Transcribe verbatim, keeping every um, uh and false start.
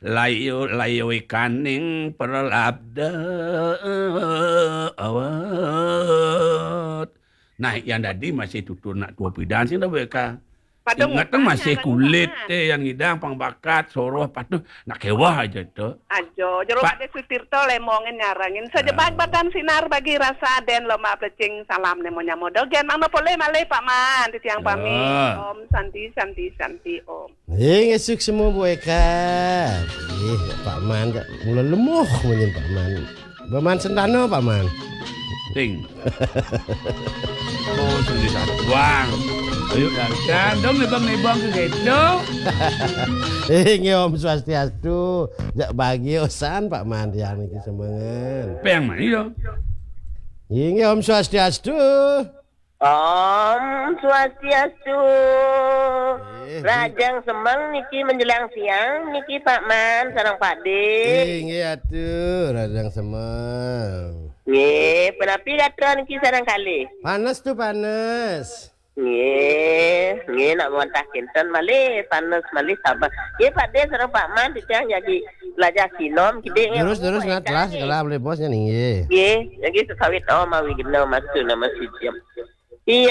Layu-layu ikaning perlabda awet. Nah, yang dadi masih tutur nak tua pidan sing dah weka. Ingat tu masih kulit teh yang ngidang pang bakat soroh patuh nak kewah aja tu. Ajo, jero Pak Ade Sutirto lemongin nyarangin. Sajebat batan sinar bagi rasa den lombok plecing salam nemo nyamo dogen. Mangda polih malih Pak Man titiang pamit. Om Santi, Santi, Santi, Om. Inggih, suksma Bu Eka. Ih, Pak Man, mula lemuh munyin Pak Man. Pak Man sentana, Pak Man. Ting. Oh, sendiri satuang. Ayo, dah. Kan, dong, nebang-nebang ke gitu. Inggih, Om Swastiastu. Jak bagi osan, Pak Man, tiang niki semengan. Peng mana ya? Inggih, Om Swastiastu. Om Swastiastu. Rahajeng semeng niki menjelang siang niki Pak Man sareng Pak De. Inggih atuh, rahajeng semeng. Nggih, punapi gatra niki sareng kalih? Panes tuh panes. Nggih, nggih nak wantah kinten malih, panes malih sabar. Nggih Pak De sareng Pak Man titiang jagi lajah sinom kidik nggih. Terus terus ngat lah sekolah boleh bosnya nggih. Nggih, jagi sesawit om awi gena masu nama sujim.